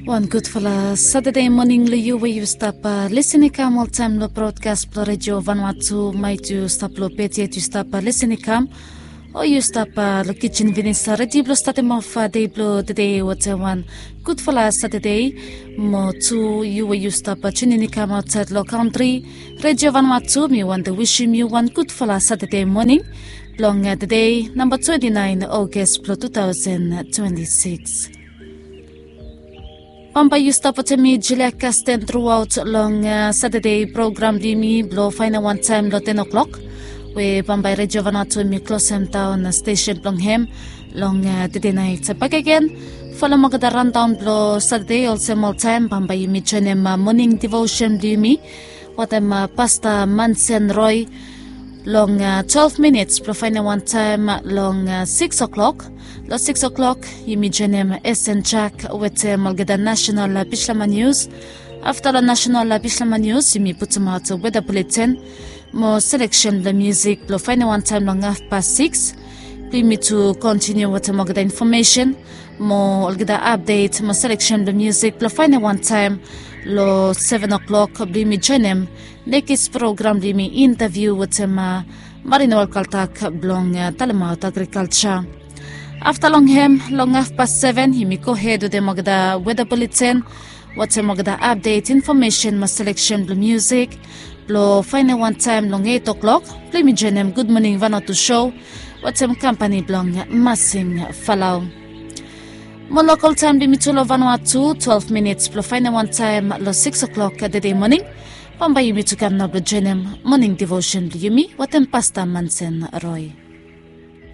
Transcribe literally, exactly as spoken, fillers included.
Wan gudfala Satade moning long yu we yu stap lisin i kam oltaem long brodkas blong redio Vanuatu. Maet yu stap long bed yet yu stap lisin i kam, o yu stap long kijin finis, redi blong statem of dei blong tede wetem wan gudfala Satade. Mo tu yu we yu stap tunin i kam aotsaed long kantri, redio Vanuatu, mi wantem wisim yu wan gudfala Satade moning blong tede, namba twenti naen Ogos blong tu taosen twenti sikis. Bambae yu stap wetem mi Julia Kasten truaot long Satade program blong yumi blong faenem wantaem long ten o'clock, we bambae redio Vanuatu mi klosem daon stesen blong hem long tede naet. Bakegen, folem olgeta randaon blong Satade olsem oltaem, bambae yumi joenem moning divosen blong yumi wetem Pasta Mansen Roe long twelve minits blong faenem wantaem long sikis o'clock. Long sikis o'clock yumi joenem Esen Jak wetem olgeta nasenal bislama nius. Afta long nasenal bislama nius yumi putumaot weda buleten mo seleksen blong musik blong faenem wantaem long hafpas sikis. Blong yumi tu kontiniu wetem olgeta infomesen mo olgeta apdet mo seleksen blong musik blong faenem wantaem long seven o'clock blong yumi joenem nekis program blong yumi, intaviu wetem Marino Alkaltak blong talemaot agrikalja. Afta long hem long hafpas seven yumi gohed wetem olgeta weda buleten wetem olgeta apdet, infomesen mo seleksen blong musik blong faenem wantaem long eit o'clock blong yumi joenem Gud Moning Vanuatu sou wetem kampani blong Masing Falau. Mo lokol taem blong yumi tu long Vanuatu, twelve minits blong faenem wantaem long sikis o'clock tede moning. Bambae yumi tu kam nao blong joenem moning divosen blong yumi wetem Pasta Mansen Roe.